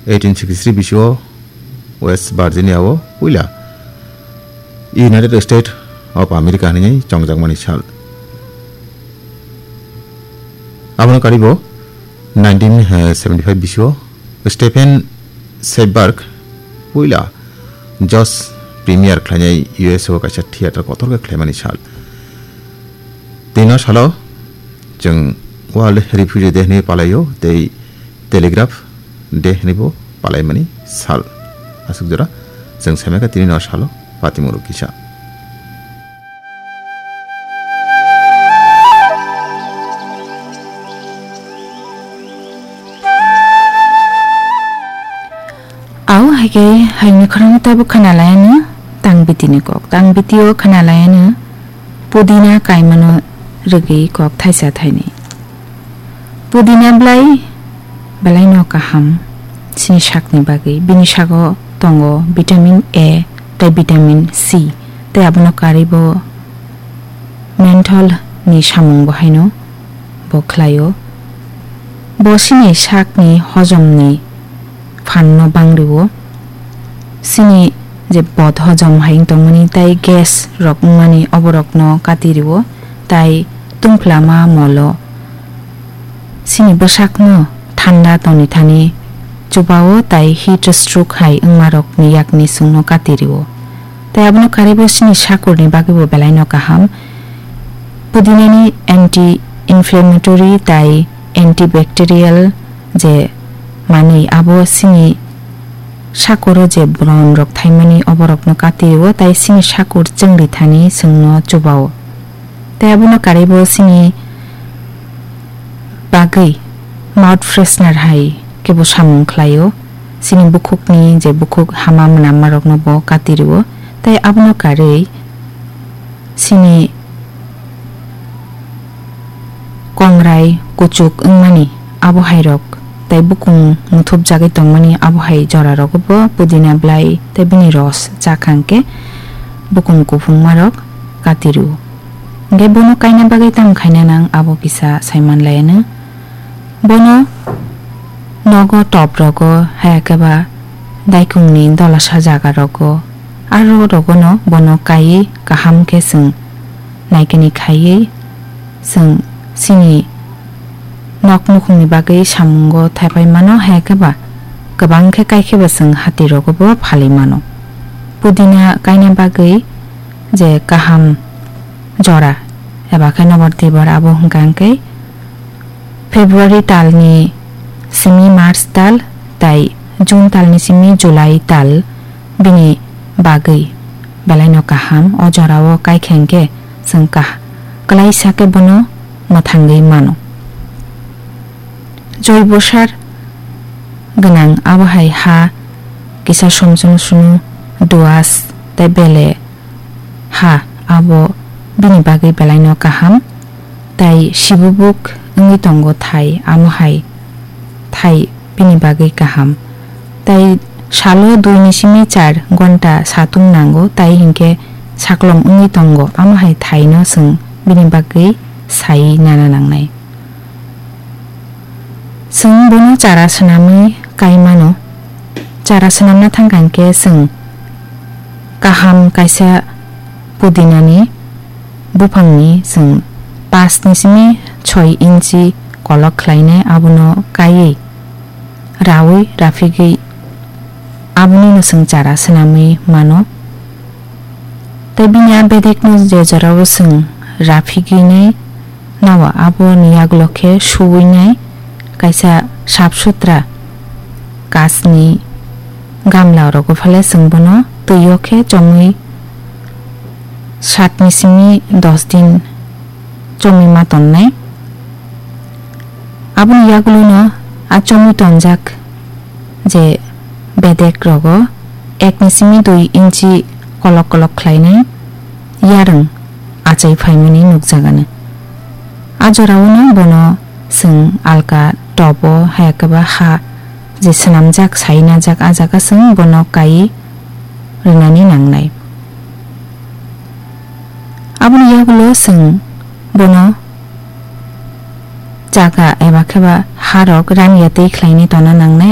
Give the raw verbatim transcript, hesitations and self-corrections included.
eighteen sixty-three bisio West Virginia o puila United States of America hinwi chongjakmani sal. Abono karibo nineteen seventy-five bisio Stephen Soderbergh puila Judge Premier khlainai U S A o kaisa theater kotor khe khlaimani sal. Tino salo chwng World Refugee Day hinwi palaio tei Telegraph Day hinwi bo palaimani sal. Aswk jora chwng saimankha tini no salo patimung rok kisa. Au hai khe hayungni khorangno tabuk khna lai anw tang bitini kok. Tang bitio khna lai anw pudina kaimano rwgwi kok thaisa thainwi. Pudina bwlai belaino kaham chini sakni bagwi. Bini sago tongo vitamin A tei vitamin C tei abono karwi bo menthol ni samung bo haino bo khlaio. Bo chini sakni hojomni phanno bangriwo. Chini je bod hojom hai wng tongmani tei gas rok wngmani oborokno kati riwo, tai tungphla ma molo chini bwsakno thanda tongni thani chubao tai heat stroke hai wngmarokni yakni chwngno kati riwo. Tai abono karwi bo chini sakurni bagwibo belaino kaham. Pudinani anti-inflammatory tai antibacterial je manwi abo chini sakuro je bron rok thaimani oborokno kati riwo tai chini sakur chwngri thani chwngno chubao. Tai abono karwi bo chini bagwi mouth freshener hai kebo samung khlaio. Chini bukhukni je bukhuk hama mwnammarokno bo kati riwo. Tai abono karwi chini kongrai kuchuk wngmani abo hai rok tai bukung muthupjagwi tongmani abo hai jora rogo bo pudina bwlai tai bini ros chakha hwnkhe bukung kuphungma rok kati riwo. Hwnkhe bono kaina bagwi tamo khaina nang abo kisa saiman lai anw. Bono nogo top rogo, haya khe ba daikungni dolasa jaga rogo, aro rogono bono kaiwi kaham khe chwng naikani khaiwi chwng chini nok nukhungni bagwi samungo thaipai mano, haya khe ba kwbang khe kai khe ba chwng hati rogo bo phalwi mano. Pudina kaina bagwi je kaham jora eba khe nobor tibor abo hwnkha hwnkhe February talni simi March tal tai June talni simi July tal bini bagwi belaino kaham. O jorao kaikha hwnkhe chwng kah-, kwlaisa khe bono mwthangwi mano. Joibo sar gwnang abo hai ha kisa somsunu sunu duas tei bele ha abo bini bagwi belaino kaham, tai sibubuk wngwi tongo thai, amo hai thai bini bagwi kaham. Tai salo dui ni simi char gonta satung nango, tai hinkhe saklom wngwi tongo, amo hai thaino chwng bini bagwi sai nana nangnai. Chwng bono chara swnamwi kai mano. Chara swnamna thangkha hwnkhe chwng kaham kaisa pudinani buphangni chwng pash ni simi soi inchi kolok khlainai, abono kaiwi raui raphigwi abonino chwng chara swnamwi mano. Tei bini a bedekno je jorao chwng raphigwinai nao aboni yagulo khe suwinai kaisa sap sutra kachni gamla rogo phale chwng bono twio khe chomwi sat ni simi dos din chomwi ma tonnai. Aboni yagulono a chomwi tonjak je bedek rogo ek ni simi dui inchi kolok kolok khlainai yarwng achai phaimani nukjagano. A joraono bono chwng alka tobo hayakhe ba ha je swnamjak sai najak, a jaga chwng bono kai rwnani nangnai. Aboni yagulo chwng bono chaga eba khe ba harok raniya tei khlainai tongna nangnai,